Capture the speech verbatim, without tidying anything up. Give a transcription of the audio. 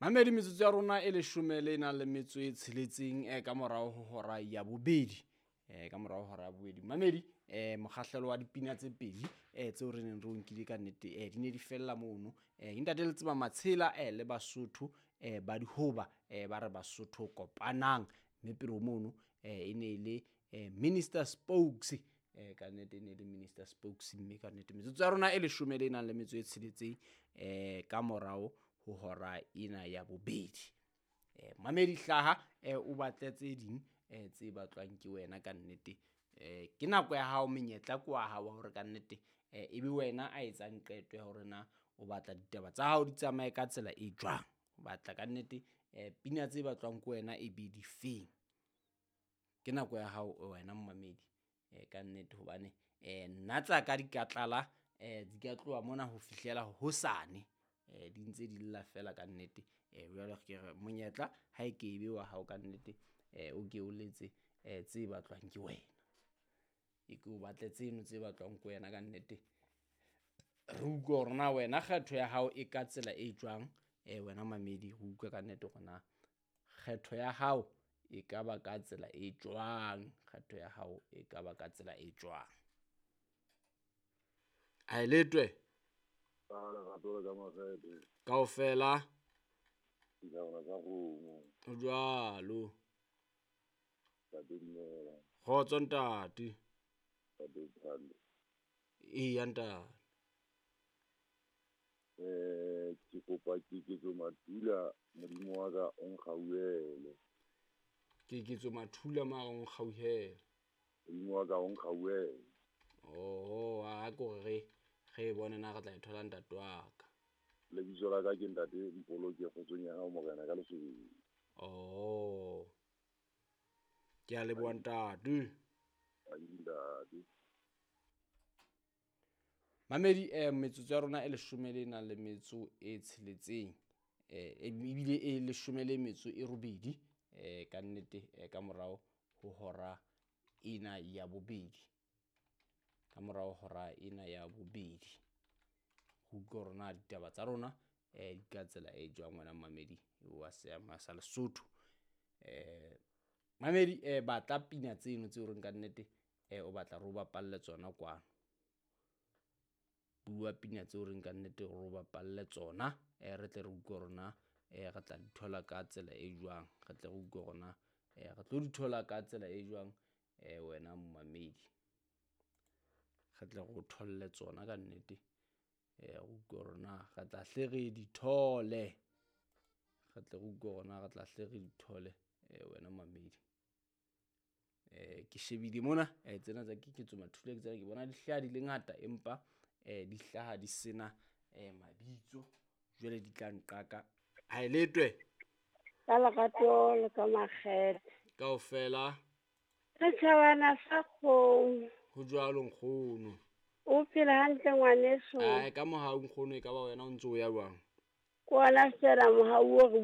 Mamedi metsotso ya rona e leshome le nang le metso e tsheletseng eh, ka morao ho hora ya bobedi eh, ka morao ho hora ya bobedi. Mamedi eh, mokgahlelo wa dipina tse pedi eh, tseo re neng re o nkile ka nnete eh, di ne di fella mono. Eh, ntate le tseba Matshela eh, le Basotho eh, ba dihoba eh, ba re Basotho kopanang, mme pele ho mono eh, e ne e le eh, Minister Spokes eh, ka nnete e ne e le Minister Spokes, mme ka nnete metsotso ya rona e leshome le nang le metso e tsheletseng eh, ka morao ho hora ena ya bobedi. Eh, mamedi hlaha eh, o batle tse ding eh, tse batlwang ke wena ka nnete. Eh, ke nako ya hao, menyetla ke wa hao wa hore ka nnete eh, ebe wena a etsang qeto ya hore na o batla ditaba tsa hao di tsamaye ka tsela e jwang. O batla ka nnete eh, pina tse batlwang ke wena e be difeng. Ke nako ya hao wena momamedi eh, ka nnete hobane eh, nna tsa ka di ka tlala eh, di ka tloha mona ho fihlela hosane eh, di ntse di lla fela ka nnete. Eh, jwale ke re monyetla ha e ke ebe wa hao ka nnete eh, o ke o letse eh, tse batlwang ke wena, e ke o batle tseno tse batlwang ke wena ka nnete. Re utlwe hore na wena kgetho ya hao e ka tsela e jwang eh, wena mamedi, re utlwe ka nnete hore na kgetho ya hao e ka ba ka tsela e jwang, kgetho ya hao e ka ba ka tsela e jwang. A e letwe Ka lerato le ka makgethe, kaofela dithabana tsa kgomo, ho jwalo. Ntate dumela, Kgotso ntate. Ntate Thando. Eya ntate. Eh, ke kopa Keketso Mathula, Modimo wa ka o nkgauhele. Keketso Mathula mara o nkgauhele. Modimo wa ka o nkgauhele. Oho, a ko re re e bone na re tla e thola ntate wa ka. Lebitso la ka ke ntate Mpoloke kgotsong ya hao morena ka Lesotho. Oh. Ke a leboha ntate. Ntate. Mamedi eh, metsotso ya rona e leshome le nang le metso e tsheletseng eh, ebile e leshome le metso e robedi eh, ka nnete eh, ka morao ho hora ena ya bobedi, ka morao hora ena ya bobedi. Ho utlwa hore na ditaba tsa rona eh, di ka tsela e jwang wena mamedi wa seama sa Lesotho. Eh, mamedi eh, batla pina tseno tseo reng ka nnete eh, o batla re o bapalle tsona kwano. Bua pina tseo reng ka nnete re o bapalle tsona eh, re tle re utlwe hore na eh, re tla di thola ka tsela e jwang, re tle re utlwe hore na eh, re tlo di thola ka tsela e jwang eh, wena momamedi. Re tle re o tholle tsona ka nnete eh, re utlwe hore na re tla hle re di thole, re tle re utlwe hore na re tla hle re di thole eh, wena mamedi. Eh, ke shebile mona eh, tsena tsa Keketso Mathula ke tsena ke bona di hlaha di le ngata, empa eh, di hlaha di sena eh, mabitso, jwale di tla nqaka. Ha e letwe ka lerato le ka makgethe kaofela setjhabana sa kgomo. Ho jwalo nkgono. O phela hantle ngwaneso? Ai, ka mohau nkgono, e ka ba wena o ntso o ya jwang? Ke ona fela mohau o re